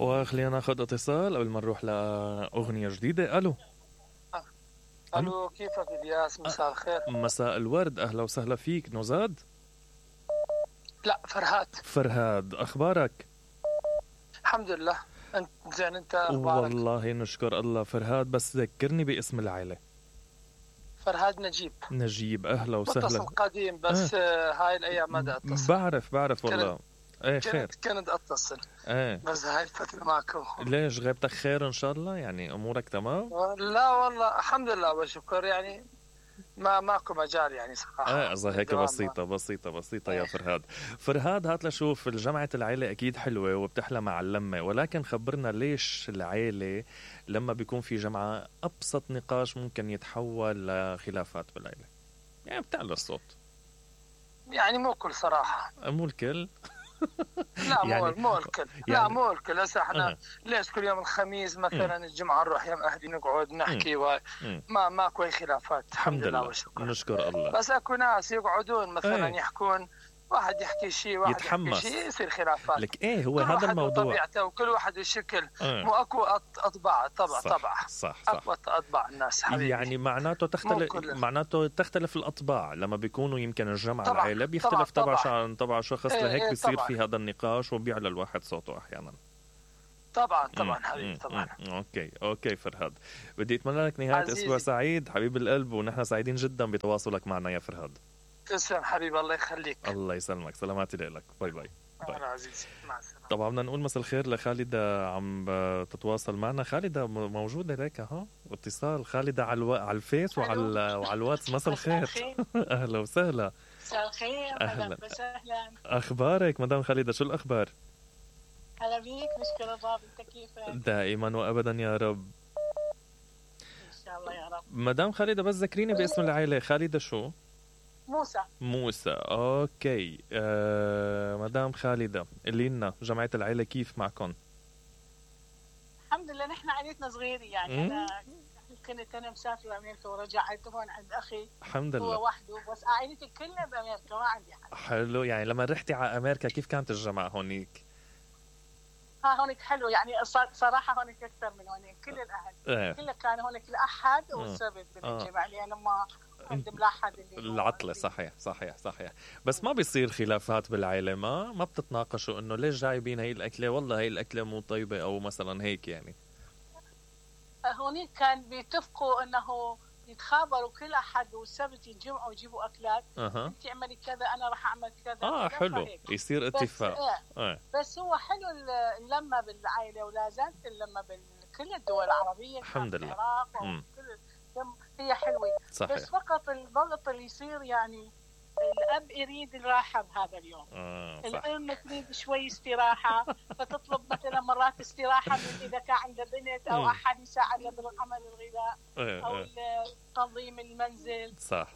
وخلينا ناخذ اتصال قبل ما نروح لأغنية جديدة. ألو. ألو، كيفك إلياس؟ مساء الخير. مساء الورد، أهلا وسهلا فيك. نزاد؟ لا، فرهاد، أخبارك؟ الحمد لله. أنت زين؟ أنت أخبارك؟ والله نشكر الله. فرهاد، بس ذكرني باسم العائلة. فرهاد نجيب، أهلا وسهلا. متصل قديم بس هاي الأيام ما أتصل. بعرف والله. ايه خير. كنت أتصل بس هاي الفترة معكم. ليش غيبتك؟ خير إن شاء الله، يعني أمورك تمام؟ لا والله الحمد لله والشكر، يعني ماكو مجال يعني صراحة. قصدي هيك بسيطة يا فرهاد هات لشوف. الجمعة العيلة أكيد حلوة وبتحلى مع اللمة، ولكن خبرنا ليش العيلة لما بيكون في جمعة أبسط نقاش ممكن يتحول لخلافات بالعيلة؟ يعني بتعلى الصوت. يعني مو كل صراحة. مو الكل. لا يعني مو الكل. لا مو الكل. هسه احنا ليش كل يوم الخميس مثلا الجمعة نروح يم أهلي نقعد نحكي ماكو أي خلافات الحمد لله والشكر. نشكر الله. بس اكو ناس يقعدون مثلا يحكون، واحد يحكي شيء واحد يتحمس. يحكي شيء، يصير خلافات. لك هو هذا الموضوع. طبيعته وكل واحد الشكل. مو اكو اطباع صح. اكو اطباع الناس حبيبي. يعني معناته تختلف الاطباع لما بيكونوا يمكن الجمع العائله بيختلف طبعا شخص لهيك بيصير في هذا النقاش وبيعلى الواحد صوته احيانا. طبعا حبيبي طبعا. اوكي فرهاد، بدي اتمنى لك نهايه اسبوع سعيد حبيب القلب، ونحن سعيدين جدا بتواصلك معنا يا فرهاد. تسلم حبيبي، الله يخليك. الله يسلمك، سلاماتي لك. باي. أهلا عزيزي، مع السلامة. طبعا بدنا نقول مساء الخير لخالدة عم تتواصل معنا. خالدة موجودة لك اهو اتصال. خالدة على الفيس وعلى الواتس. مساء الخير. اهلا وسهلا. مساء الخير. اهلا وسهلا. اخبارك مدام خالدة؟ شو الاخبار؟ هلا بيك، نشكر الله. انت كيفك؟ دائما وابدا يا رب. ان شاء الله يا رب. مدام خالدة بس ذكريني باسم العائلة. خالدة شو؟ موسى. اوكي. مدام خالدة قولي لنا جمعية العائلة كيف معكم؟ الحمد لله نحن عائلتنا صغيرة يعني. أنا مسافرة أمريكا ورجعت هون عند أخي. الحمد لله. هو وحده، بس عائلتي كلها بأمريكا، ما عندي حد. حلو. يعني لما رحتي على أمريكا كيف كانت الجمعة هونيك؟ هونيك حلو يعني صراحة هونيك أكثر من هونيك. كل الأهل كلها كانوا هونيك الأحد والسبت بالجمعة، لأنه ما عند ملاحظ العطلة. صحيح. بس ما بيصير خلافات بالعائلة؟ ما بتتناقشوا إنه ليش جايبين هاي الأكلة؟ والله هاي الأكلة مو طيبة، أو مثلا هيك يعني. هونيك كان بيتفقوا إنه يتخابروا كل أحد والسبت يتجمعوا ويجيبوا أكلات. أنت اعملي كذا، أنا راح أعمل كذا. حلو يصير اتفاق. بس هو حلو اللمة بالعائلة، ولا زالت اللمة بكل الدول العربية. الحمد لله. هي حلوة. صحيح. بس فقط الضغط اللي يصير يعني الأب يريد الراحة بهذا اليوم. الأم تريد شوي استراحة، فتطلب مثلا مرات استراحة من إذا كان عنده بنت أو أحد يساعدها بالعمل الغذاء أو تنظيم المنزل. صح.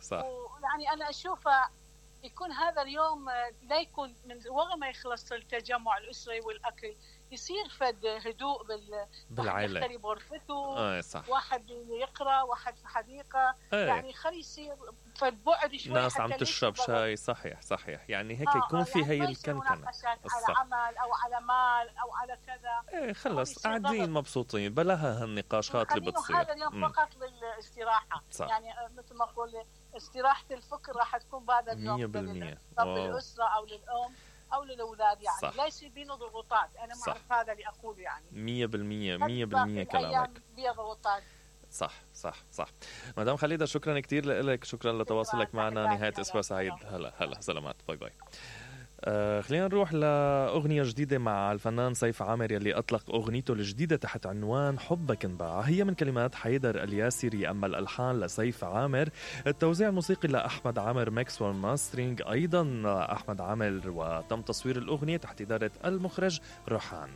يعني أنا أشوف يكون هذا اليوم لا يكون من وقت ما يخلص التجمع الأسري والأكل، يصير فد هدوء بالعائلة. واحد يختلي بغرفته. صح. واحد يقرأ، واحد في حديقة. يعني خلي يصير فد بعد شوي. ناس عم تشرب شاي. صحيح. يعني هيك يكون في يعني هي الكنكنة على عمل أو على مال أو على كذا. خلص قاعدين مبسوطين بلاها هالنقاشات اللي بتصير. هذا اليوم فقط للاستراحة. صح. يعني مثل ما أقول استراحة الفكر راح تكون بعد اليوم 100%. للأسرة أو للأم أو للأولاد. يعني صح. لا يصير بينه ضغوطات. أنا ما أعرف هذا اللي أقوله يعني. 100% كلامك. بيها ضغوطات. صح. مدام خالدة شكرا كتير لك، شكرا لتواصلك معنا. نهاية أسبوع سعيد. هلا سلامات. باي. خلينا نروح لأغنية جديدة مع الفنان سيف عامر يلي أطلق أغنيته الجديدة تحت عنوان حبك انباع. هي من كلمات حيدر الياسري، أما الألحان لسيف عامر، التوزيع الموسيقي لأحمد عامر، ميكس والماسترينج أيضا أحمد عامر، وتم تصوير الأغنية تحت إدارة المخرج روحان.